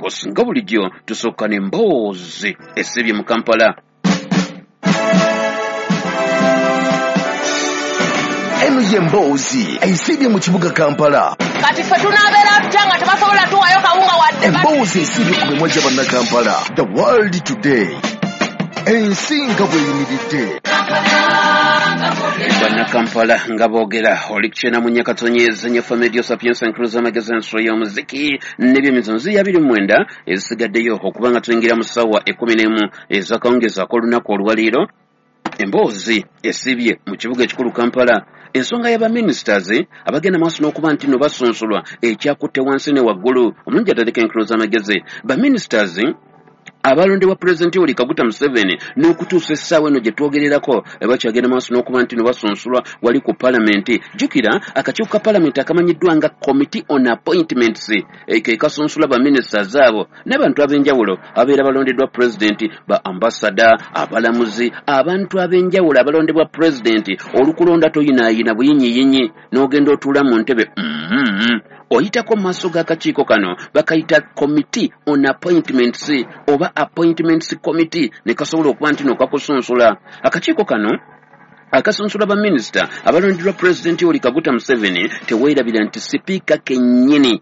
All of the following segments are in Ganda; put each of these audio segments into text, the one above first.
Course, nga bulijjo tusooka n'emboozi esibye mu Kampala. Eno ye mboozi esibye mu kibuga Kampala. Kati ffe tunaabeera tutya nga tebasobola tuwayo kawunga wadde? Emboozi esibye ku mimwa gya Bannakampala. The World Today, ensi nga bweyimiridde. Bannakampala nga boogera. Oli kukyena mu Nyakatonyeza nyafa Medio Sapienza Encruza Magazine, ensolo y'omuziki n'ebyemizanyo 29 ezisigaddeyo okuba nga tuyingira mu ssaawa 11 ez'akawungeezi ak'olunaku olwaleero. Emboozi esibye mu kibuga ekikulu Kampala, ensonga y'abaministers abagenda maaso n'okuba nti no basunsulwa ekyakutte wansi ne waggulu. Omulungi atandika enkuluza amagezi, baministers abalondebwa Pulezidenti Yoweri Kaguta Museveni n'okutuusa essaawa eno gye twogererako bakyagenda maaso n'okuba nti no basunsulwa wali ku palamenti. Jjukira akakiiko ka palamenti akamanyiddwa nga Committee on Appointments ke kasunsula baministers abo n'abantu ab'enjawulo abeera balondeddwa pulezidenti, ba ambasada, abalamuzi, abantu ab'enjawulo abalondebwa pulezidenti. Olukulonda toyinaayina buyinyiyinyi n'ogenda otuula mu ntebe, oyitako mu maaso g'akakiiko kano bakayita Committee on Appointments oba Appointments Committee, ne kasobola okuba nti no kakusunsula. Akakiiko kano akasunsula baminisita abalondeddwa Pulezidenti Yoweri Kaguta Museveni, teweerabira nti sipiika kennyini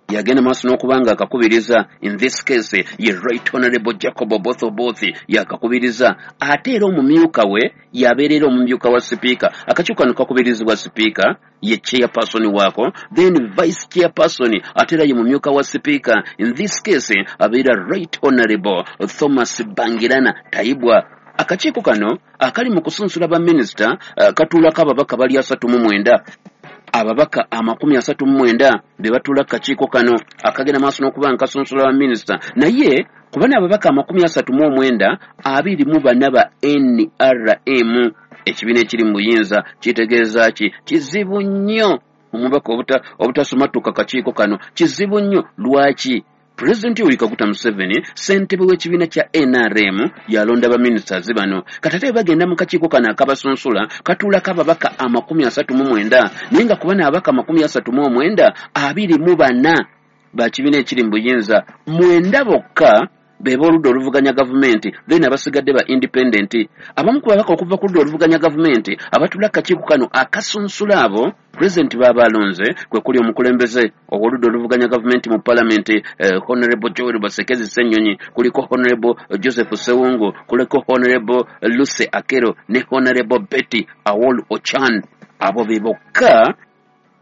yagenda maaso n'okuba nga akakubiriza. In this case ye Right Honorable Jacob Oboth Oboth yakakubiriza, ate era omumyuka we yabeerera omumyuka wa sipiika. Akakiiko kano kakubirizibwa sipiika, ye chairperson waako, then vice chairperson ate era ye mumyuka wa sipiika, in this case abeera Right Honorable Thomas Bangirana Tayibwa. Akakiiko kano akali mu kusunsula baminisita katuulako ababaka bali 39. Ababaka 39 be batuula ku kakiiko kano akagenda maaso n'okuba nga kasunsula baminisita. Naye ku bano ababaka 39, 24 ba NRM, ekibiina ekiri mu buyinza. Kitegeeza ki? Kizibu nnyo omubaka obutasumatuka kakiiko kano, kizibu nnyo. Lwaki? Pulezidenti Yoweri Kaguta Museveni, ssentebe w'ekibiina kya NRM, yalonda baministers bano. Kati ate bagenda mu kakiiko kano akabasunsula, katuulako ababaka 39, naye nga ku bano ababaka 39, 24 ba kibiina ekiri mu buyinza, 9 bokka be b'oludda oluvuganya gavumenti, then abasigadde ba independent. Abamu ku babaka okuva ku ludda oluvuganya gavumenti abatuula ku kakiiko kano akasunsula abo pulezidenti b'aba alonze, kwe kuli omukulembeze ow'oludda oluvuganya gavumenti mu palamenti, Honorable Joel Basekezi Ssenyonyi, kuliko Honorable Joseph Ssewungu, kuliko Honorable Lucy Akero ne Honorable Betty Awol Ochan. Abo be bokka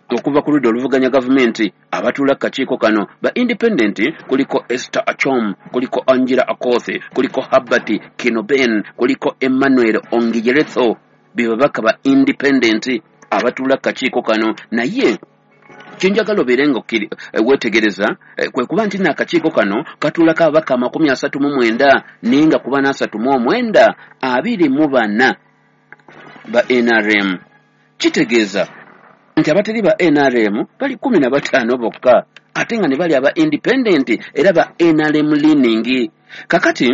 okuva ku ludda oluvuganya gavumenti abatuula ku kakiiko kano. Ba independent kuliko Esther Achom, kuliko Angela Akoth, kuliko Herbert Kinoben, kuliko Emmanuel Ongiyeretho, be babaka ba independent abatuula ku kakiiko kano. Naye kyenjagala obeere nga weetegereza kwe kuba nti n'akakiiko kano katuulako ababaka 39, naye nga ku bano 39, 24 ba NRM. Kitegeeza nti abateri ba NRM bali 15 bokka, ate nga ne bali aba independent era ba NRM leaning. Kakati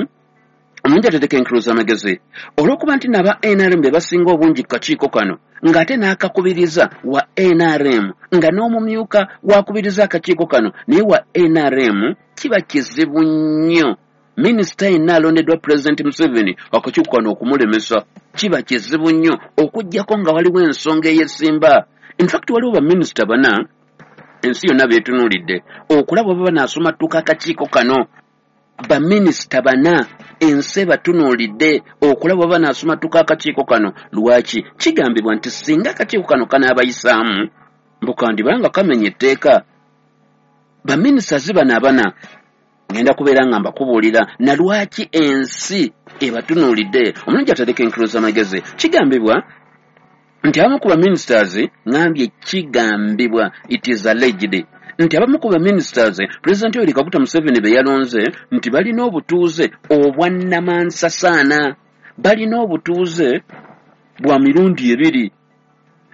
omuntu ateteka enkuluza amagezi, olw'okuba nti n'aba NRM be basinga obungi ku kakiiko kano, ng'ate n'akakubiriza wa NRM, nga n'omumyuka wakubiriza akakiiko kano naye wa NRM, kiba kizibu nnyo minisita yenna alondeddwa Pulezidenti Museveni akakiiko kano okumulemesa. Kiba kizibu nnyo okuggyako nga waliwo ensonga eyesimba. In fact, waliwo baminisita bana ensi yonna beetunuulidde okulaba oba banaasumatuka akakiiko kano. Baminisita bana ensi ebatunuulidde okulaba oba banaasumatuka akakiiko kano. Lwaki? Kigambibwa nti singa akakiiko kano kanaabayisaamu, mbu kandibanga kamenya etteeka. Baminisita bano abana ngenda kubeera nga mbakubuulira na lwaki ensi ebatunuulidde. Omulungi atereka enkuluza amagezi, kigambibwa nti abamu ku baministers, ngambye kigambibwa, it is alleged, nti abamu ku baministers Pulezidenti Yoweri Kaguta Museveni be yalonze nti balina obutuuze obwannamansasana, balina obutuuze bwa mirundi ebiri,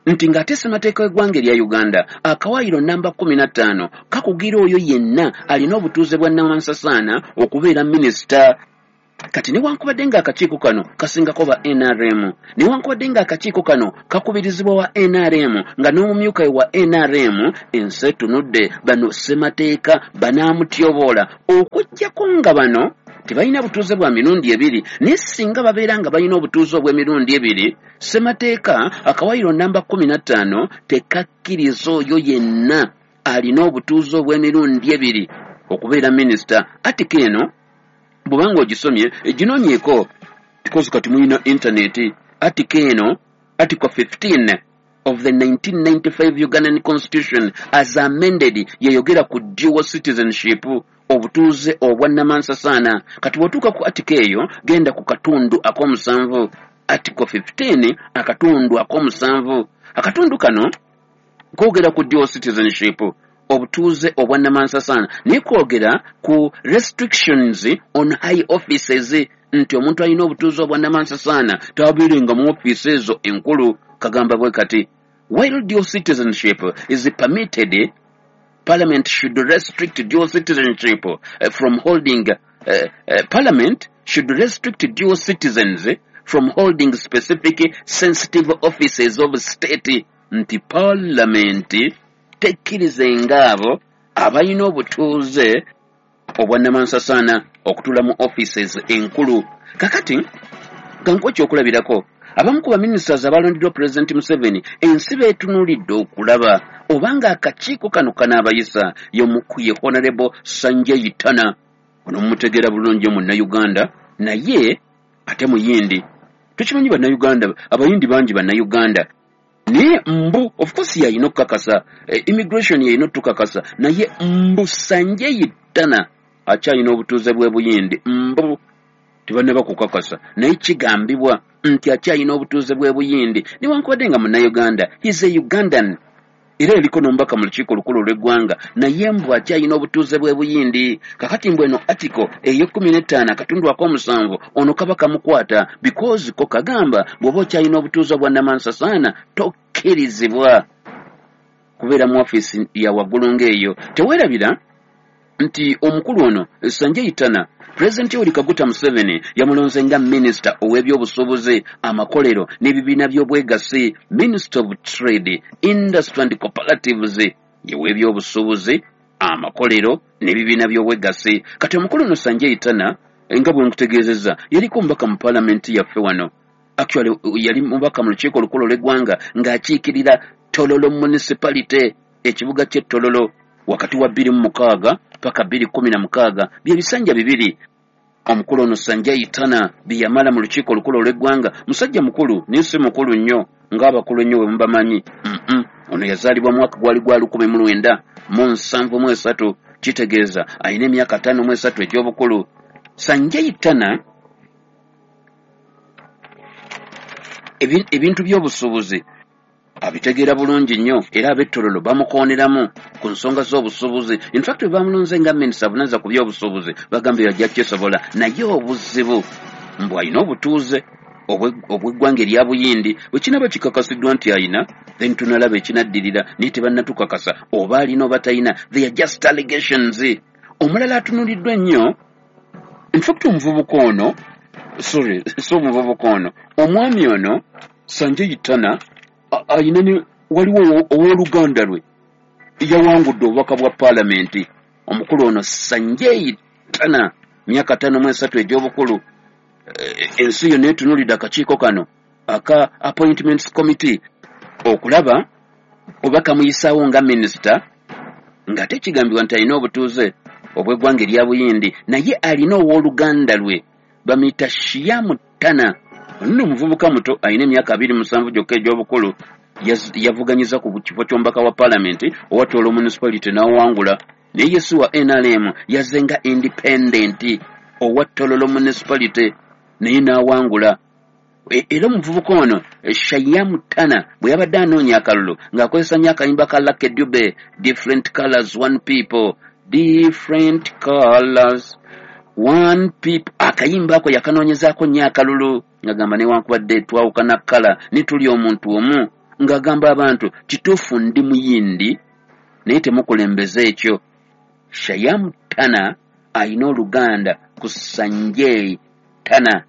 nti ng'ate ssemateeka w'eggwanga erya Uganda akawaayiro namba 15 kakugira oyo yenna alina obutuuze bwa nnamansasaana okubeera minisita. Kati newankubadde ng'akakiiko kano kasingako ba NRM, newankubadde ng'akakiiko kano kakubirizibwa wa NRM nga n'omumyuka we wa NRM, ensi etunudde bano ssemateeka banaamutyoboola, okuggyako nga bano tebalina butuuze bwa mirundi ebiri. Naye singa babeera nga balina obutuuze obw'emirundi ebiri, ssemateeka akawayiro namba 15 tekakkiriza oyo yenna alina obutuuze obw'emirundi ebiri okubeera minisita. Article eno bw'obanga ogisomye ginoonyeeko, because kati mulina intaneti. Article eno, Article 15 of the 1995 Ugandan Constitution as amended, yeyogera ku dual citizenship, obutuuze obwa nnamansasaana. Kati bw'otuuka ku article eyo, genda ku katundu ak'omusanvu, Article 15 akatundu ak'omusanvu. Akatundu kano koogera ku dual citizenship, obutuuze obwa nnamansasaana, naye kwogera ku restrictions on high offices, nti omuntu alina obutuuze obwa nnamansasaana tabeerenga mu ofiisi ezo enkulu. Kagamba bwe kati: while dual citizenship is permitted, Parliament should restrict dual citizenship from holding Parliament should restrict dual citizens from holding specific sensitive offices of state, nti Parliament tekkirizenga abo abalina obutuuze obwa nnamansasaana okutuula mu offices enkulu. Kakati kankuwa ekyokulabirako, abamu ku baministers abalondeddwa Pulezidenti Museveni, ensi beetunuulidde okulaba obanga akakiiko kano kanaabayisa. Y'omu ye Honorable Sanjay Tana. Ono mumutegeera bulungi, Munnayuganda naye ate Muyindi. Tukimanyi Bannayuganda Abayindi bangi Bannayuganda, naye mbu of course yalina okukakasa, immigration yalina otukakasa, naye mbu Sanjay Tana akyalina obutuuze bw'e Buyindi. Mbu tebannaba kukakasa, naye kigambibwa nti akyalina obutuuze bw'e Buyindi newankubadde nga Munnayuganda. He's a Ugandan, era eriko n'omubaka mu Lukiiko Olukulu olw'Eggwanga, naye mbu akyalina obutuuze bw'e Buyindi. Kakati mbu eno article ey'e 15 akatundu ak'omusanvu ono kaba kamukwata, because ko kagamba bw'oba okyalina obutuuze bwa nnamansasaana tokkirizibwa kubeera mu ofiisi ya waggulu ng'eyo. Teweerabira nti omukulu ono Sanjay Tana, Pulezidenti Yoweri Kaguta Museveni yamulonze nga minisita ow'ebyobusuubuzi, amakolero n'ebibiina by'obwegassi, Minister of Trade, Industry and Cooperatives, yew'ebyobusuubuzi, amakolero n'ebibiina by'obwegassi. Kati omukulu ono Sanjay Tana, nga bwe nkutegeezezza, yaliko omubaka mu paalamenti yaffe wano. Actually yali mubaka mu Lukiiko Olukulu olw'Eggwanga ng'akiikirira Tololo Municipality, ekibuga ky'e Tololo, wakati wa 2006 paka 2016. Bye bisanja bibiri omukulu ono Sanjay Tana bye yamala mu Lukiiko Olukulu olw'Eggwanga. Musajja mukulu, naye si mukulu nnyo ng'abakulu ennyo bwe mubamanyi. Ono yazaalibwa mwaka gwali gwa 1973, kitegeeza alina emyaka 53 egy'obukulu. Sanjay Tana ebintu by'obusuubuzi abitegeera bulungi nnyo, era ab'e Tololo bamukooneramu ku nsonga z'obusuubuzi. In fact bwe bamulonze nga minisita avunaanyizibwa ku by'obusuubuzi, bagambye yajja kyesobola, naye obuzibu mbu alina obutuuze obw'eggwanga erya Buyindi. Bwe kinaaba kikakasiddwa nti alina, then tunalaba ekinaddirira, naye tebannatukakasa oba alina oba talina. They are just allegations. Omulala atunuuliddwa ennyo, in fact omuvubuka ono, sorry, si omuvubuka ono, omwami ono Sanjay Tana alina ne waliwo owooluganda lwe yawangudde obubaka bwa paalamenti. Omukulu ono Sanjay Tana, myaka 53 egy'obukulu. Ensi yonna etunuulidde akakiiko kano aka Appointments Committee okulaba oba kamuyisaawo nga minisita, ng'ate kigambibwa nti alina obutuuze obw'eggwanga erya Buyindi, naye alina owooluganda lwe bamuyita Shiyamu Tana. Ono nno omuvubuka muto, alina emyaka 27 gyokka egy'obukulu. Yavuganyiza ku kifo ky'omubaka wa paalamenti owa Tolo Municipality n'awangula, naye ye si wa NRM, yazze nga independent owa Tololo Municipality, naye n'awangula. Era omuvubuka ono Shayamu Tana bwe yabadde anoonya akalulu ng'akozesa nnyo akayimba ka Lucky Dube, "Different Colors, One People, Different Colors, One People". Akayimba ako yakanoonyezaako nnyo akalulu, ng'agamba newankubadde twawukana colour ne tuli omuntu omu, ng'agamba abantu kituufu ndi Muyindi naye temukulembeza ekyo. Shayamu Tana alina oluganda ku Sanjay Tana.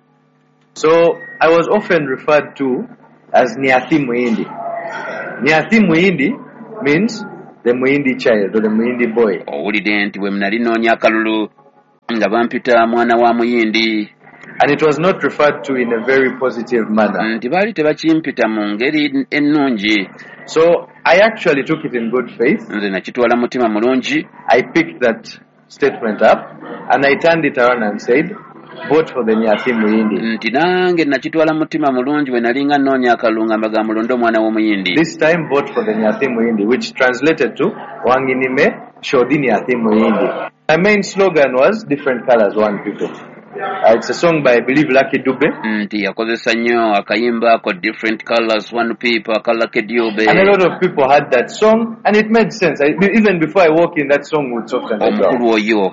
So I was often referred to as Nyathi Muhindi. Nyathi Muhindi means the Muhindi child or the Muhindi boy. Owulidde nti bwe nali nnoonya akalulu nga bampita mwana wa Muyindi. And it was not referred to in a very positive manner. Nti baali tebakimpita mu ngeri ennungi. So I actually took it in good faith. Nze nakitwala mutima mulungi. I picked that statement up and I turned it around and said, vote for the Nyathi Muhindi. Nti nange nakitwala mutima mulungi bwe nalinga nnoonya akalulu nga mbaga mulonde omwana w'omuyindi. This time vote for the Nyathi Muhindi, which translated to Wanginime Shodi Nyathi Muhindi. My main slogan was different colors, one people. It's a song by, I believe, Lucky Dube. Nti yakozesa nnyo akayimba ako different colors, one people, aka Lucky Dube. And a lot of people had that song and it made sense. Even before I walk in, that song would soften the ground. Omukulu oyo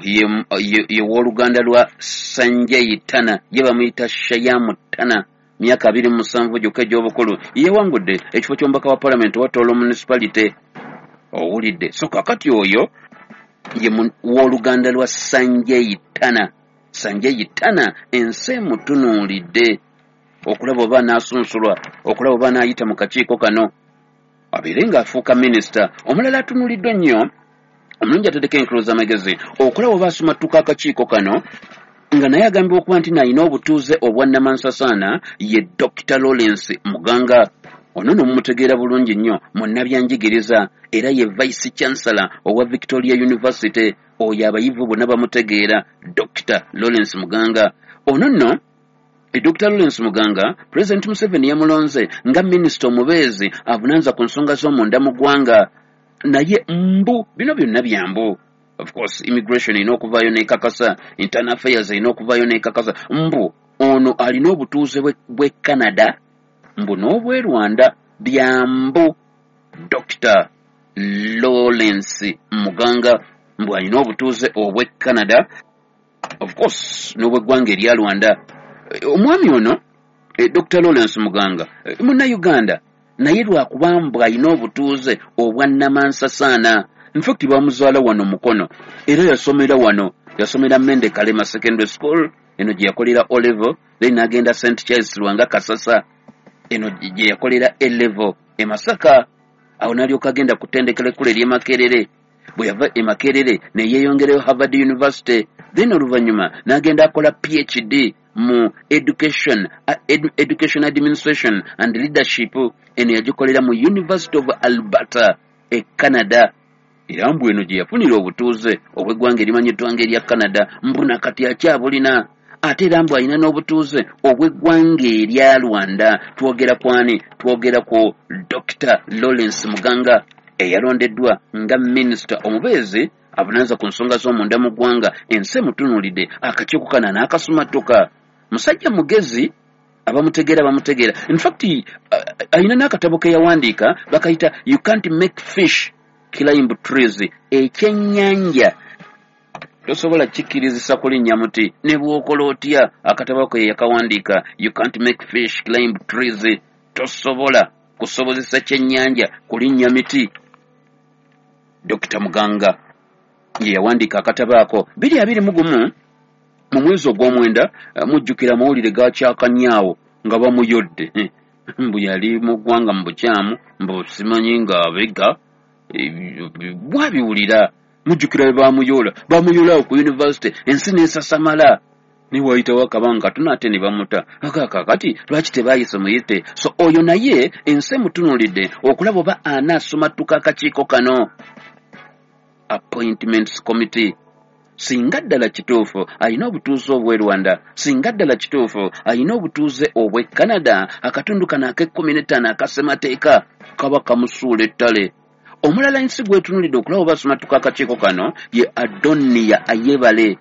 ye w'oluganda lwa Sanjay Tana, ye bamuyita Shayamu Tana, myaka 27 gyokka egy'obukulu. Yewangudde ekifo ky'omubaka wa parliament owa Tolo Municipality. Owulidde. So kakati oyo ye w'oluganda lwa Sanjay Tana. Sanjay Tana ensi emutunuulidde okulaba oba anaasunsulwa, okulaba oba anaayita mu kakiiko kano abeere ng'afuuka minisita. Omulala atunuuliddwa ennyo omulungi ateddeko enkulu z'amagezi okulaba oba asumattuka akakiiko kano nga naye agambibwa okuba nti n'alina obutuuze obwa Namansasaana ye Dr. Lawrence Muganga. Ono nno mumutegeera bulungi nnyo munnabyanjigiriza era ye Vice Chancellor owa Victoria University. Oyo abayivu bonna bamutegeera, Dr. Lawrence Muganga. Ono nno Dr. Lawrence Muganga, President Museveni yamulonze nga minisita omubeezi avunaanyizibwa ku nsonga z'omunda mu ggwanga. Naye mbu bino byonna byambu. Of course immigration erina okuvaayo n'ekakasa, internal affairs erina okuvaayo n'ekakasa. Mbu ono alina obutuuze bw'e Canada mbu n'obw'e Rwanda. Byambu Dr. Lawrence Muganga mbu alina obutuuze obw'e Canada, of course n'obw'eggwanga erya Rwanda. Omwami ono Dr. Lawrence Muganga munnayuganda, naye lwakuba mbu alina obutuuze obwa Namansasaana. In fact bamuzaala wano Mukono era yasomera wano, yasomera Mende Kalema Secondary School, eno gye yakolera O level, then n'agenda St. Charles Lwanga Kasasa, eno gye yakolera A level e Masaka. Awo n'alyoka agenda ku ttendekero ekkulu ery'e Makerere. Bwe yava e Makerere ne yeeyongerayo Harvard University, then oluvannyuma n'agenda akola PhD mu education administration and leadership, eno yagikolera mu University of Alberta e Canada. Era mbu eno gye yafunira obutuuze obw'eggwanga erimanyiddwa ng'erya Canada, mbu nakati akyabulina. Ate era mbu alina n'obutuuze obw'eggwanga erya Rwanda. Twogera kwani? Twogera ku Dr. Lawrence Muganga eyalondeddwa nga minisita omubeezi avunaanyizibwa ku nsonga z'omunda mu ggwanga. Ensi emutunuulidde akakiiko kano n'akasumatuka. Musajja mugezi, abamutegeera bamutegeera. In fact alina n'akatabo ke yawandiika bakayita You Can't Make Fish Climb Trees, ekyennyanja tosobola kikkirizisa kulinnya muti ne bw'okola otya. Akatabo ke yakawandiika You Can't Make Fish Climb Trees, tosobola kusobozesa kyennyanja kulinnya miti. Dr. Muganga ye yawandiika akatabo ako 2021 mu mwezi ogw'omwenda. Mujjukira amawulire gakyakanyaawo nga bamuyodde mbu yali mu ggwanga mu bukyamu, mbu simanyi nga abega bwabiwulira. Mujjukira bwe bamuyoola awo ku university, ensi n'esasamala. Ne wayitawo akabanga katono ate ne bamuta. Kakati lwaki tebaayise muyite? So oyo naye ensi emutunuulidde okulaba oba anaasumattuka akakiiko kano, Appointments Committee. Singa ddala kituufu alina obutuuze obw'e Rwanda, singa ddala kituufu alina obutuuze obw'e Canada, akatundu kano ak'e15 akasemateeka kaba kamusuula ettale. Omulala ensi gwetunuulidde okulaba oba asumatuka akakiiko kano ye Adonia Ayebale.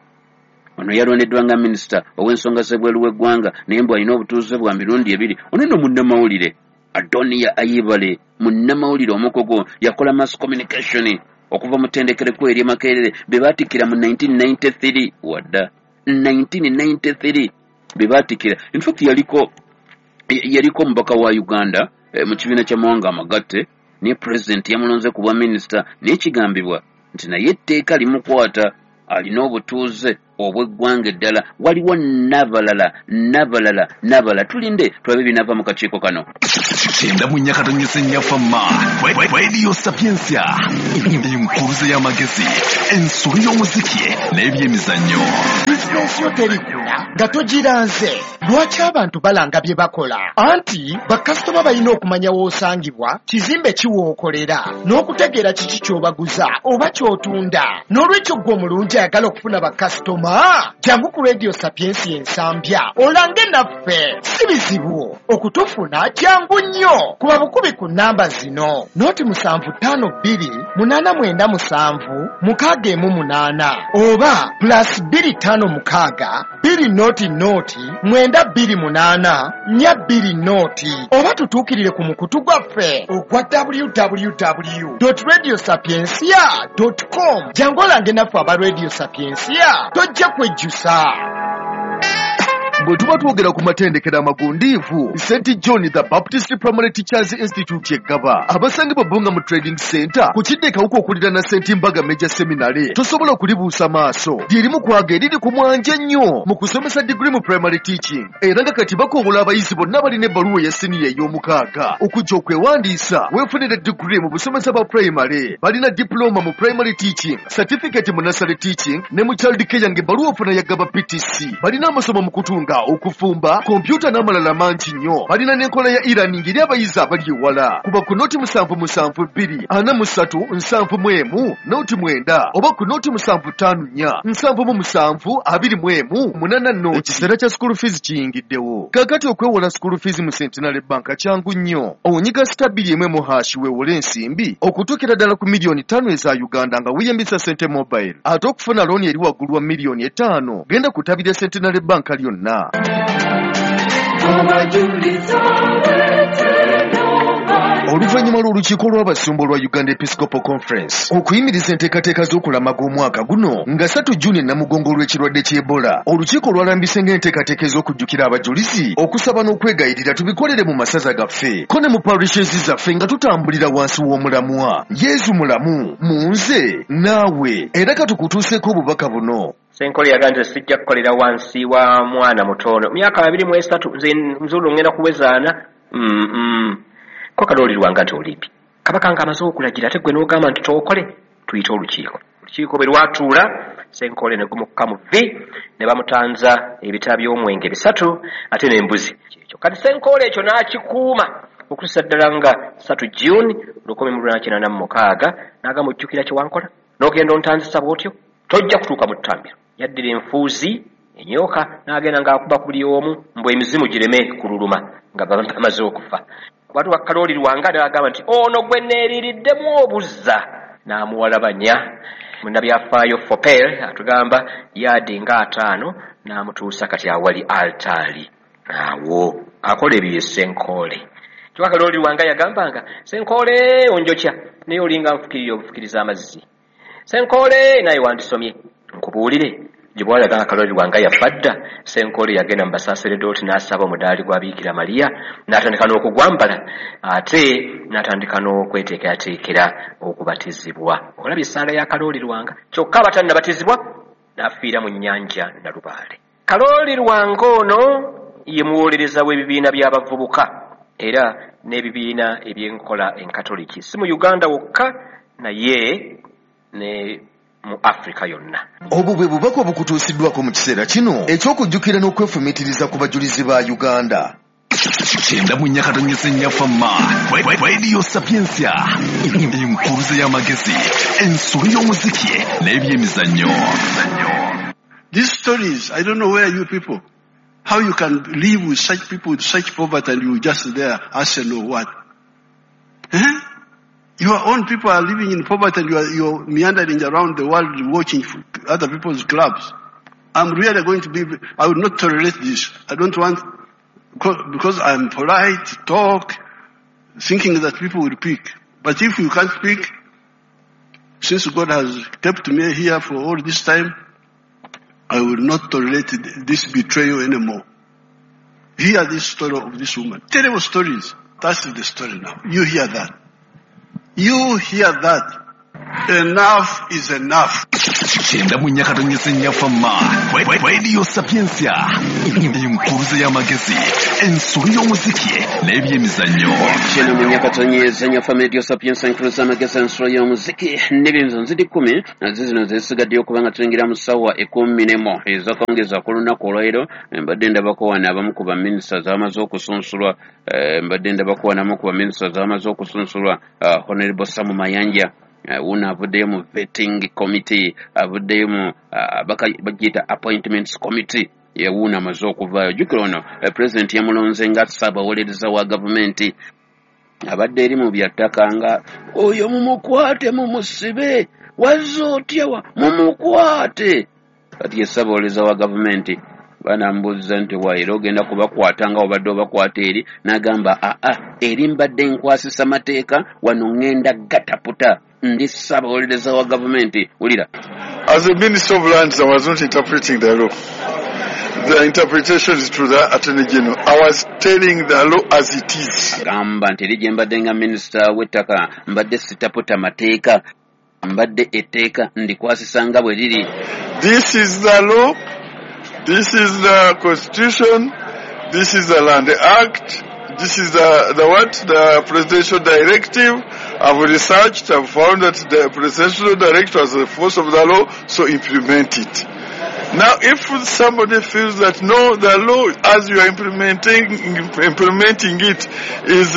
Ono yalondeddwa nga minisita ow'ensonga z'ebweru w'eggwanga, naye mbu alina obutuuze bwa mirundi ebiri. Ono nno munnamawulire Adonia Ayebale, munnamawulire omukugu, yakola mass communication okuva mu ttendekero ekkulu ery'e Makerere be baatikkira mu 1993. Wadda 1993 be baatikkira. In fact yaliko omubaka wa Uganda mu kibiina ky'amawanga amagatte, naye pulezidenti yamulonze ku bwa minisita, naye kigambibwa nti naye etteeka limukwata. Alina obutuuze obw'eggwanga eddala. Waliwo n'abalala n'abalala n'abalala. Tulinde tulabe ebinaava mu kakiiko kano. 94.4 Fama Radio Sapientia, enkuluze y'amagezi, ensolo y'omuziki n'ebyemizannyo. Bizinensi yo terikula nga togiranze. Lwaki abantu balanga bye bakola? Anti bakasitoma balina okumanya w'osangibwa, kizimbe ki w'okolera, n'okutegeera kiki ky'obaguza oba ky'otunda. N'olwekyo ggwe omulungi ayagala okufuna bakasitoma, jangu ku Radio Sapientia Ensambya olange naffe. Si bizibu okutufuna, jangu nnyo. Kuba bukubi ku nnamba zino: 0 752 897 618 oba +256 200 928 420, oba tutuukirire ku mukutu gwaffe ogwa www radio sapiencia com. Jangu olange naffe aba Radio Sapiencia, tojja kwejjusa. Bwe tuba twogera ku matendekero amagundiivu, St John the Baptist Primary Teachers Institute eggaba abasangibwa Bbunga mu Trading Center ku kidde Kawuka okuliraana St Mbaga Major Seminary, tosobola kulibuusa maaso. Lyerimu kwaga eriri ku mwanje ennyo mu kusomesa diguri mu primary teaching, era nga kati bakowola abayizi bonna balina ebbaluwa eya siniya ey'omukaaga okujja okwewandiisa weefunire diguri mu busomesa bwa primary. Balina diploma mu primary teaching, certificate mu nursery teaching ne mu child care, ng'ebbaluwa ofuna ya Gaba PTC. Balina amasomo mu kutunga, okufumba, kompyuta n'amalala mangi nnyo. Balina n'enkola ya e-learning eri abayizi abali ewala. Kuba ku 077 243 71 09 oba ku 075 477 21 80. Ekiseera kya school fees kiyingiddewo kaakati. Okwewola school fees mu Centenary Bank kyangu nnyo. Onyiga *210# weewole ensimbi okutuukira ddala ku miliyoni 5 eza Uganda nga weeyambisa Sente Mobile. Ate okufuna looni eri waggulu wa miliyoni 5, genda ku ttabi lya Centenary Bank lyonna. Oluvannyuma lw'olukiiko lw'abasumba olwa Uganda Episcopal Conference okuyimiriza enteekateeka z'okulamaga omwaka guno nga 3 Juni Namugongo olw'ekirwadde ky'Ebola, olukiiko lwalambise ng'enteekateeka ez'okujjukira abajulizi, okusaba n'okwegayirira tubikolere mu masaza gaffe ko ne mu parishes zaffe nga tutambulira wansi w'omulamwa Yezu mulamu mu nze naawe. Era katukutuuseeko obubaka buno. Senkole yagamba nti sijja kukolera wansi wa mwana mutono, myaka 23, nze nzulu ngenda kuwezaana. Ko Kalooli Lwanga nti olipi kabaka nga amaze okulagira, ate gwe n'ogamba nti tookole, tuyite olukiiko. Olukiiko bwe lwatuula, Senkole ne gumukka mu vvi ne bamutanza ebita by'omwenge bisatu ate n'embuzi. Ekyo kati Senkole ekyo n'akikuuma okutuusa ddala nga 3 June 1986, n'agamba, ojjukira kye wankola n'ogenda ontanzisa bw'otyo, tojja kutuuka mu ttambiro. Yaddira enfuuzi enyooka n'agenda ng'akuba ku buli omu mbwe emizimu gireme kululuma nga bamaze okufa. Watu wa Kalooli Lwanga n'agamba nti ono gwe neeririddemu obuzza, n'amuwalabanya. Munnabyafaayo Fopel atugamba yaadi nga 50 n'amutuusa kati awali altaali awo. Akola ebyo ye Senkoole. Kyokka Kalooli Lwanga yagambanga, Senkoole onjokya naye olinga nfukirira obufukiriza amazzi, Senkoole naye wandisomye nkubuulire. Gye bwalaga nga Kalooli Lwanga yafa dda, Senkoole yagenda mu basaseredooti n'asaba omudaali gwa Biikira Mariya n'atandika n'okugwambala, ate n'atandika n'okweteekerateekera okubatizibwa. Olabye essaala ya Kalooli Lwanga. Kyokka abatannabatizibwa n'afiira mu nnyanja Nalubaale. Kalooli Lwanga ono ye muwolereza w'ebibiina by'abavubuka era n'ebibiina ebyenkola enkatoliki, si mu Uganda wokka naye ne mu Afrika yonna. Obwo bwe bubaka obukutuusiddwako mu kiseera kino eky'okujjukira n'okwefumiitiriza ku bajulizi ba Uganda. 94.4 Fama Radio Sapientia, enkuluze y'amagezi, ensolo y'omuziki n'ebyemizannyo. These stories, I don't know where you people, how you can live with such people with such poverty and you just there, Arsenal what? Eh? Your own people are living in poverty and you're meandering around the world watching other people's clubs. I'm really going to be, I will not tolerate this. I don't want, because I'm polite, talk, thinking that people will pick. But if you can't pick, since God has kept me here for all this time, I will not tolerate this betrayal anymore. Hear this story of this woman. Terrible stories. That's the story now. You hear that. You hear that. Enough is enough. 94.4 Fama Radio Sapientia, enkuruze y'amagezi, ensolo y'omuziki n'ebyemizannyo. 94.4 Fama Radio Sapientia, enkuruze y'amagezi, ensolo y'omuziki n'ebyemizannyo. Ziri 10 zino zisigaddeyo kubanga tuyingira mu ssaawa 11 ez'akawungeezi ku lunaku olwaleero. Mbadde ndabako wano abamu ku baminisita abamaze okusunsulwa, mbadde ndabako wano abamu ku baminisita abamaze okusunsulwa. Honorable Sam Mayanja wuno avuddeyo mu vetting committee, avuddeyo mu bagiyita appointments committee, yewuuno amaze okuvaayo. Jjukira ono president yamulonze nga ssaabawolereza wa gavumenti, abadde eri mu byattaka nga oyo mumukwate mumusibe, wazze otya wa mumukwate. Kati ye ssaabawolereza wa gavumenti banambuuziza nti waira ogenda kubakwata nga obadde obakwata eri, n'agamba aa eri mbadde nkwasisa mateeka, wano ŋŋenda gataputa, ndi ssaabawolereza wa gavumenti. Wulira. As a Minister of Lands, I was not interpreting the law. The interpretation is to the Attorney General. I was telling the law as it is. Agamba nti eri gye mbadde nga minisita w'ettaka mbadde sitaputa mateeka, mbadde etteeka ndikwasisa nga bwe liri. This is the law, this is the Constitution, this is the Land Act, this is the Presidential Directive. I've researched, I've found that the Presidential Directive has the force of the law, so implement it. Now, if somebody feels that no, the law as you are implementing it is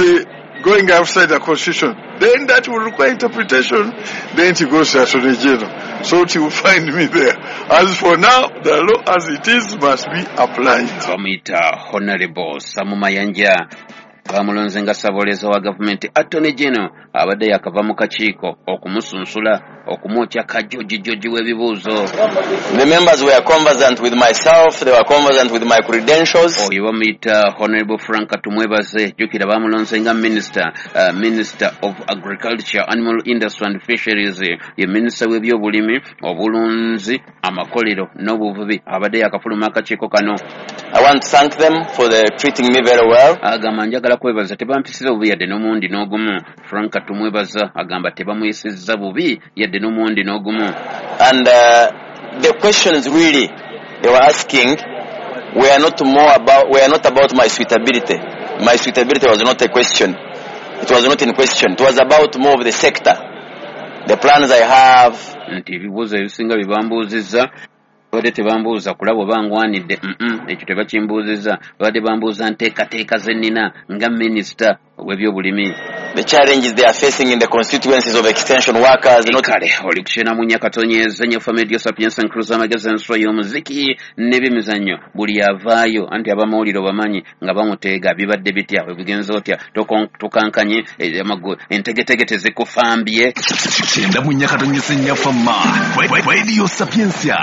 going outside the Constitution, then that will require interpretation. Then it goes to Attorney General. So it will find me there. As for now, the law as it is must be applied. Bamuyita Honorable Sam Mayanja, bamulonze nga ssaabawolereza wa gavumenti. Attorney General abadde yakava mu kakiiko okumusunsula, okumwokya kajojijoji w'ebibuuzo. The members were conversant with myself, they were conversant with my credentials. Oyo bamuyita Honorable Frank Tumwebaze, jjukira bamulonze nga minister, Minister of Agriculture, Animal Industry and Fisheries, ye minisita w'ebyobulimi, obulunzi, amakolero n'obuvubi, abadde yakafuluma akakiiko kano. I want to thank them for the treating me very well. Agamba njagala kwebaza, tebampisiza bubi yadde n'omundi n'ogumu. Frank Tumwebaza agamba tebamuyisizza bubi yadde n'omundi n'ogumu. And the questions really they were asking were not about my suitability. My suitability was not a question. It was not in question. It was about more of the sector, the plans I have. Nti ebibuuzo ebisinga bye bambuuzizza babadde tebambuuza kulaba oba ngwanidde, ekyo tebakimbuuzizza, babadde bambuuza nteekateeka ze nnina nga minisita ow'ebyobulimi. The challenges they are facing in the constituencies of extension workers. Kale oli kukyena mu Nyakatonyeza nnyo Fama Radio Sapientia, nkuruza amagezi, ensolo y'omuziki n'ebyemizannyo. Buli avaayo anti abamawulire obamanyi nga bamuteega bibadde bitya, obigenza otya, tokankanye, entegetege tezikufambye. 94.4 Fama Radio Sapientia,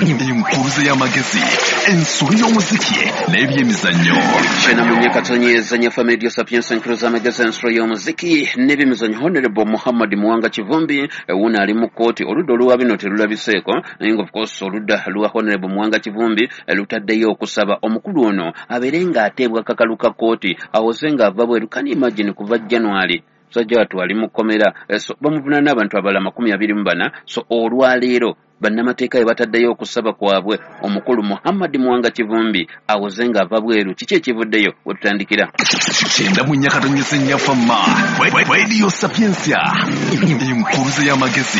enkuruze y'amagezi, ensolo y'omuziki n'ebyemizannyo. 94.4 nnyo Fama Radio Sapientia, nkuruza amagezi, ensolo y'omuziki n'ebyemizannyo. Honorable Muhammad Muwanga Kivumbi wuno ali mu kkooti, oludda oluwa bino terulabiseeko, naye nga of course oludda lwa Honorable Muwanga Kivumbi lutaddeyo okusaba omukulu ono abeere ng'ateebwa kakalu ka kkooti, awoze ng'ava bweru. Can you imagine kuva January musajja wattu ali mu kkomera, so bamuvunaana n'abantu abalala 24. So olwaleero bannamateeka bwe bataddeyo okusaba kwabwe omukulu Muhammad Muwanga Kivumbi awoze ng'ava bweru. Kiki ekivuddeyo we tutandikira? 94.4 Fama Radio Sapientia, enkuruze y'amagezi,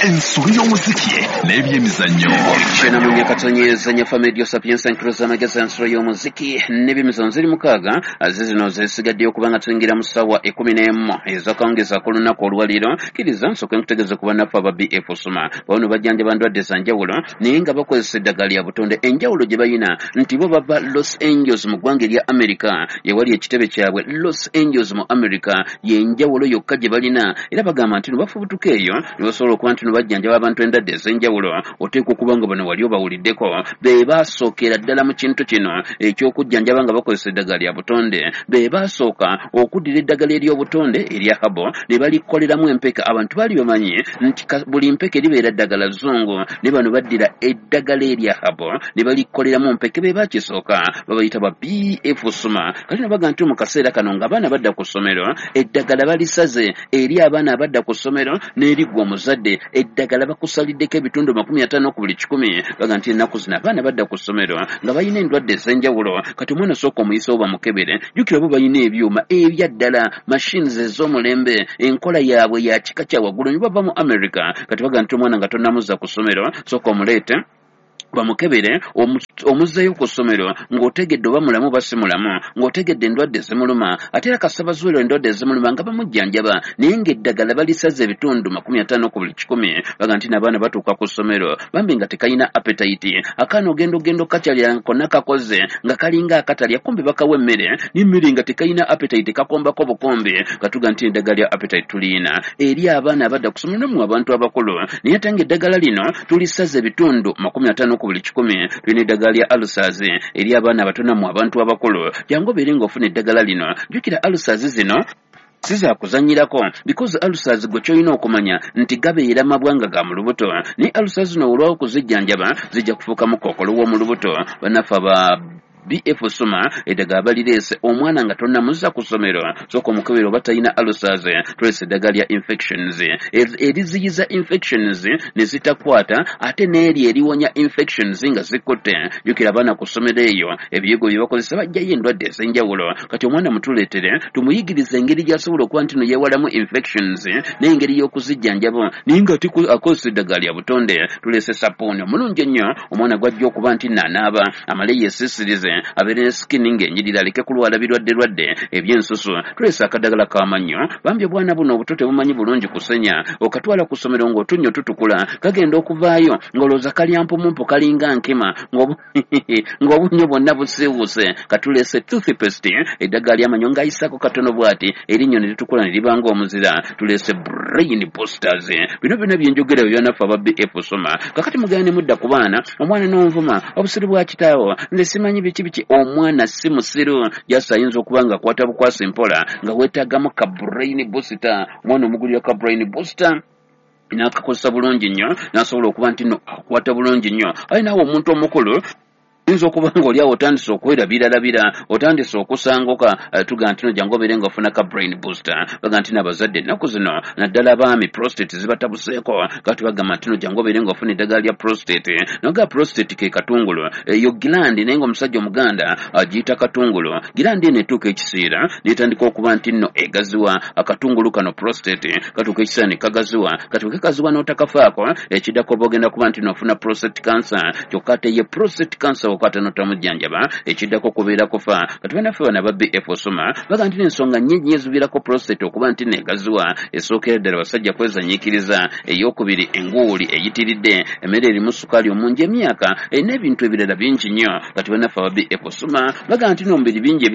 ensolo y'omuziki n'ebyemizannyo. 94.4 Fama Radio Sapientia, enkuruze y'amagezi, ensolo y'omuziki n'ebyemizannyo. Ziri 6 zizino zisigaddeyo kubanga tuyingira mu ssaawa 11 ez'akawungeezi ku lunaku olwaleero. Kkiriza nsooke nkutegeeze ku bannaffe aba BF Suma, bano bajjanjaba ndwadde za njawulo naye nga bakozesa eddagala lya butonde. Enjawulo gye balina nti bo bava Los Angeles mu ggwanga erya America, yewali ekitebe kyabwe Los Angeles mu America, y'enjawulo yokka gye balina. Era bagamba nti no bafubutuka eyo ne basobola okuba nti no bajjanjaba abantu endwadde ez'enjawulo. Oteekwa okuba nga bano wali obawuliddeko, be baasookera ddala mu kintu kino eky'okujjanjaba nga bakozesa eddagala lya butonde. Be baasooka okuddira eddagala ery'obutonde erya habo ne balikoleramu empeke. Abantu baali bamanyi nti buli mpeke libeera ddagala zungu, habo, ne bano baddira eddagala erya habo ne balikoleramu mpeke, be bakisooka babayita ba BF Suma. Kati no baga nti mu kaseera kano ng'abaana badda ku ssomero, eddagala balisaze eri abaana abadda ku ssomero n'eriggwa omuzadde, eddagala bakusaliddeko ebitundu 50 ku buli 100. Baga nti ennaku zino abaana badda ku ssomero nga balina endwadde ez'enjawulo. Kati omwana osooka omuyisewo bamukebere, jjukira bo balina ebyuma ebya ddala, machines ez'omulembe, enkola yaabwe ya kika kya waggulu, ne bava mu America. Kati baga nti omwana nga tonnamuzza ku ssomero, sooka omuleete bamukebere, omuzzeeyo ku ssomero ng'otegedde oba mulamu oba si mulamu, ng'otegedde endwadde ezimuluma. Ate era kasita bazuula endwadde ezimuluma nga bamujjanjaba, naye ng'eddagala balisaze ebitundu 50 ku buli 100. Baga nti n'abaana batuuka ku ssomero bambi nga tekalina appetite, akaana ogenda okakyalira konna kakoze nga kalinga akatalya, kumbe bakawa emmere n'emmere nga tekalina appetite, kakombako bukombe. Katuga nti eddagala lya appetite tulina eri abaana abadda ku ssomero mu abantu abakulu, naye ate ng'eddagala lino tulisaze ebitundu 50 ku buli 100. Tulina eddagala lya ulcers eri abaana abato nammwe abantu abakulu, jangu obeere ng'ofuna eddagala lino. Jjukira ulcers zino si za kuzannyirako, because ulcers gwe ky'olina okumanya nti gabeera mabwanga ga mu lubuto, naye ulcers zino olwawo okuzijjanjaba zijja kufuukamu kookolo w'omu lubuto. Bannaffe aba BF Suma eddagala balireese, omwana nga tonnamuzza ku ssomero sooka omukebere oba talina ulcers. Tuleese eddagala lya infections eriziyiza infections ne zitakwata, ate n'eri eriwonya infections nga zikutte. Jjukira abaana ku ssomero eyo ebiyigo bye bakozesa bajjayo endwadde ez'enjawulo. Kati omwana mutuleetere tumuyigirize engeri gy'asobola okuba nti no yeewalamu infections n'engeri y'okuzijjanjaba, naye nga akozesa eddagala lya butonde. Tuleese sappuuni omulungi ennyo omwana gw'ajja okuba nti naanaaba amale yeesiisirize, abeere ne skin ng'enjirira, aleke kulwala birwadde lwadde ebyensusu. Tuleese akadagala k'amannyo, bambi obwana buno obuto tebumanyi bulungi kusenya, okatwala ku ssomero ng'otunnyo tutukula, kagenda okuvaayo ng'olowooza kalya mpumumpu, kalinga nkima, ng'obunnyo bwonna busiiwuuse. Katuleese toothpaste, eddagala ly'amannyo ng'ayisaako katono bw'ati erinnyo ne litukula ne liba ng'omuzira. Tuleese brain boosters. Bino byonna byenjogera bye byanaffe aba BF Suma. Kakati mugenda ne mudda ku baana, omwana n'onvuma obusiru bwa kitaawo, nze simanyi biki biki. Omwana si musiru, jasi ayinza okuba nga akwata bukwasi mpola, nga weetaagamu ka brain booster. Omwana omugulira ka brain booster n'akakozesa bulungi nnyo, n'asobola okuba nti no akwata bulungi nnyo. Aye naawe omuntu omukulu oyinza okuba ng'oli awo otandise okwerabiralabira, otandise okusanguka, tuga nti no jangu obeere ng'ofuna ka brain booster. Baga nti n'abazadde ennaku zino naddala abaami prostate zibatabuseeko, kati bagamba nti no jangu obeere ng'ofuna eddagala lya prostate. Noga prostate ke katungulu, eyo gland, naye ng'omusajja omuganda agiyita katungulu. Gland eno etuuka ekiseera n'etandika okuba nti nno egaziwa. Akatungulu kano prostate katuuka ekiseera ne kagaziwa. Kati bwe kagaziwa n'otakafaako, ekiddako oba ogenda kuba nti n'ofuna prostate cancer. Kyokka ate ye prostate cancer okwata n'otamujjanjaba, ekiddako kubeera kufa. Kati bannaffe bano aba BF Suma baga nti n'ensonga nnyingi eziviirako prostate okuba nti negaziwa. Esookera ddala basajja kwezanyiikiriza, ey'okubiri enguuli eyitiridde, emmere erimu sukaali omungi, emyaka n'ebintu ebirala bingi nnyo. Kati bannaffe aba BF Suma baga nti n'omubiri bingi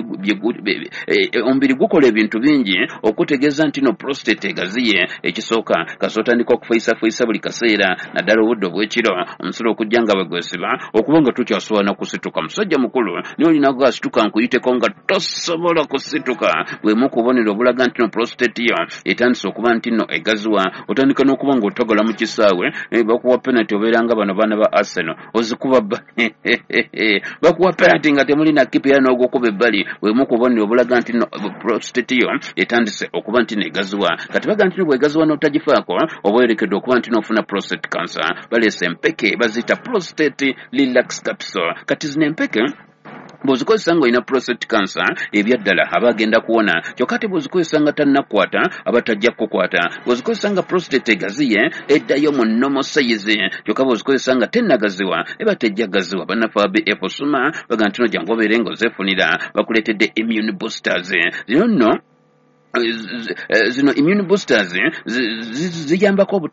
omubiri gukola ebintu bingi okutegeeza nti no prostate egaziye. Ekisooka kasita otandika okufuyisafuyisa buli kaseera, naddala obudde obw'ekiro, omusolo okujja nga bwe gwesiba, okuba nga tokyasobola na kusituka. Musajja mukulu naye olina gasituka nkuyiteko nga tosobola kusituka, bwemu kubonero obulaga nti no prostate yo etandise okuba nti no egaziwa. Otandika n'okuba ng'otagala mu kisaawe, bakuwa penalty, obeera nga bano baana ba Arsenal ozikuba bakuwa penalty nga temuli na kipa era n'ogukuba ebbali. Bwemu kubonero obulaga nti no prostate yo etandise okuba nti negaziwa. Kati baga nti no bwegaziwa n'otagifaako oba oyolekedde okuba nti n'ofuna prostate cancer. Baleese empeke baziyita prostate relax capsule. Kati zino empeke bw'ozikozesa ng'olina prostate cancer ebyaddala aba agenda kuwona, kyokka ate bw'ozikozesa nga tannakukwata aba tajja kukukwata. Bw'ozikozesa nga prostate egaziye eddayo mu normal size, kyokka bw'ozikozesa nga tennagaziwa eba tejja gaziwa. Bannaffe aba BF Suma baga nti no jangu obeere ng'ozeefunira, bakuleetedde immune boosters. Zino nno zino immune boosters ziyambako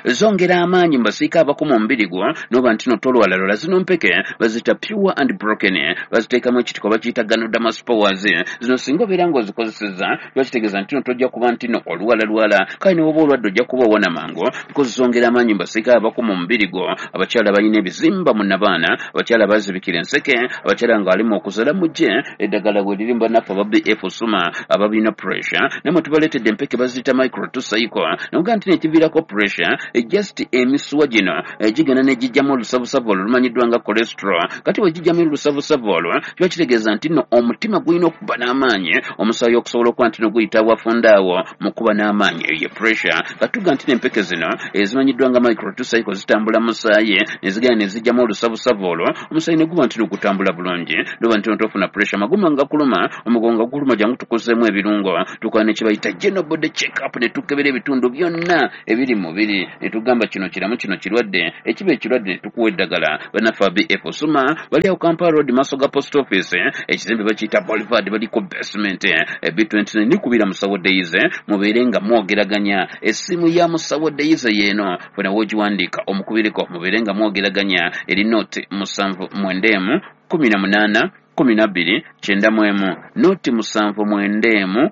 zongera amaanyi mu basiika abakuma omubiri gwo n'oba nti no tolwalalwala. Zino mpeke baziyita pure and broken, baziteekamu ekitiko bakiyita ganoderma spores. Zino singa obeera ng'ozikozesezza bakitegeeza nti no tojja kuba nti no olwalalwala, kale ne woba olwadde ojja kuba owona mangu because zongera amaanyi mu basiika abakuma omubiri gwo. Abakyala balina ebizimba mu nabaana, abakyala bazibikira enseke, abakyala ng'alimu okuzaala, mujje eddagala bwe liri mu bannaffe aba BF Suma abalina pressure. pressure, namwe tubaleetedde empeke baziyita micro tucycle. Noga nti nekiviirako pressure, just emisuwa gino gigenda negijjamu olusavusavu olwo lumanyiddwa nga cholesterol. Kati bwe gijjamu olusavusavu olwo, kiba kitegeeza nti nno omutima gulina okuba n'amaanyi, omusaayi okusobola okuba nti no guyita wafunda awo mu kuba n'amaanyi, eyo ye pressure. Katuga nti n'empeke zino ezimanyiddwa nga micro tucycle zitambula musaayi ne zigenda ne zijjamu olusavusavu olwo, omusaayi ne guba nti no gutambula bulungi, noba nti tofuna pressure. Maguma nga kuluma, omugongo guluma, jangu tukozeemu ebirungo, tukola ne kibayita general body check up, ne tukebera ebitundu byonna ebiri mu mubiri ne tugamba kino kiramu, kino kirwadde, ekiba ekirwadde ne tukuwa eddagala. Bannaffe BF Suma bali awo Kampala Road, maaso ga post office, ekizimbe bakiyita Boulevard, bali ku basement B29. Nikubira Musawo Daisy mubeere nga mwogeraganya. Essimu ya Musawo Daisy yeeno, fena woogiwandiika omukubireko mubeere nga mwogeraganya, eri 079 18 12 91, 079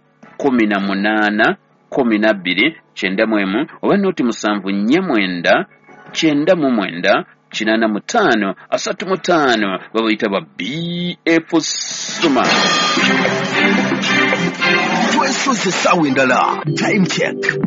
18 12 91, oba 074 99 85 35. Babayita ba BF Suma. Twesoze essaawa endala, time check.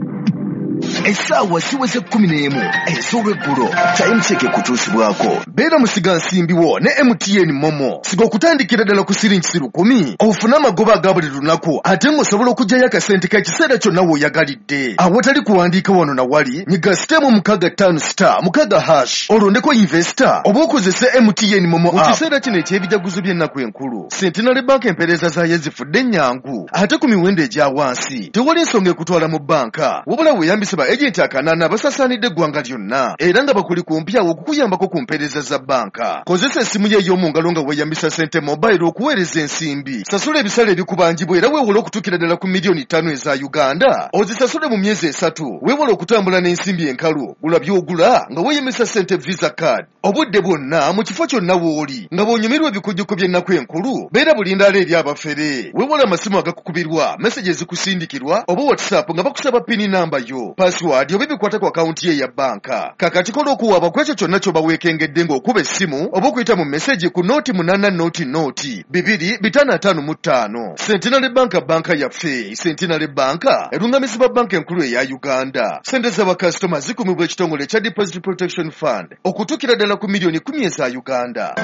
Essaawa ziweze 11 ez'olweggulo. Time check ekutuusibwako beera musigansimbiwo ne MTN MoMo. Siga okutandikira ddala ku siringi 1,000 ofune amagoba aga buli lunaku, ate ng'osobola okuggyayo akasente k'ekiseera kyonna w'oyagalidde awatali kuwandiika wano na wali. Nyiga *656*6# olondeko investor oba okozese MTN MoMo. Mu kiseera kino eky'ebijaguzo by'ennaku enkulu, Centenary Bank empeereza zaayo zifudde ennyangu ate ku miwendo egya wansi. Tewali nsonga ekutwala mu banka, wabula weeyambise ba agenti akanaana abasasaanidde eggwanga lyonna era nga bakuli kumpi awo okukuyambako ku mpeereza za banka. Kozesa essimu yo ey'omu ngalo nga weeyambisa Sente Mobile okuweereza ensimbi, sasula ebisale ebikubanjibwa era weewole okutuukira ddala ku miliyoni 5 eza Uganda, ozisasule mu myezi 3. Weewale okutambula n'ensimbi enkalu, gula by'ogula nga weeyambisa Sente Visa Card obudde bwonna mu kifo kyonna w'oli. Nga bw'onyumirwa ebikujjuko by'ennaku enkulu, beera bulindaala eri abafere. Weewale amasimu agakukubirwa, message ezikusindikirwa oba WhatsApp nga bakusaba PIN namba yo, password oba ebikwata ku akawunti ye eya banka. Kakati kola okuwaaba ku ekyo kyonna ky'oba weekengedde ng'okuba essimu oba okuyita mu message ku 0800 255. Centenary Bank, banka yaffe. Centenary Bank erungamizibwa banka enkulu eya Uganda. Sente z'abakasitoma zikumibwa ekitongole ekya Deposit Protection Fund okutuukira ddala ku miliyoni 10 eza Uganda.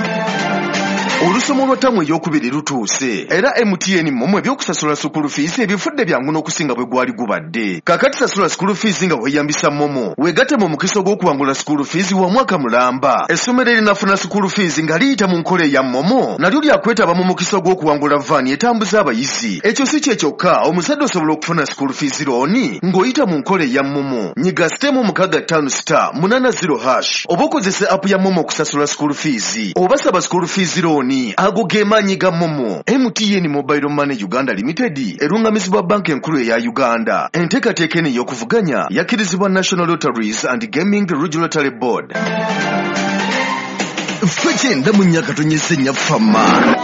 Olusomo lwa ttamu ey'okubiri lutuuse era MTN MoMo ebyokusasula school fees ebifudde byangu n'okusinga bwe gwali gubadde. Kakati sasula school fees nga weeyambisa MoMo, weegatte mu mukisa ogw'okuwangula school fees wa mwaka mulamba. Essomero erinafuna school fees nga liyita mu nkola eya MoMo nalyo lyakwetaba mu mukisa ogw'okuwangula vaani etambuza abayizi. Ekyo si kye kyokka, omuzadde osobola okufuna school fees loan ng'oyita mu nkola eya MoMo. Nyiga *656*80# oba okozese app ya MoMo okusasula school fees oba saba school fees loan. Ago ge maanyi ga MoMo. MTN Mobile Money Uganda Limited erungamizibwa banka enkulu eya Uganda. Enteekateeka eno ey'okuvuganya yakkirizibwa National Lotteries and Gaming Regulatory Board. Ffe 94.4 Fama.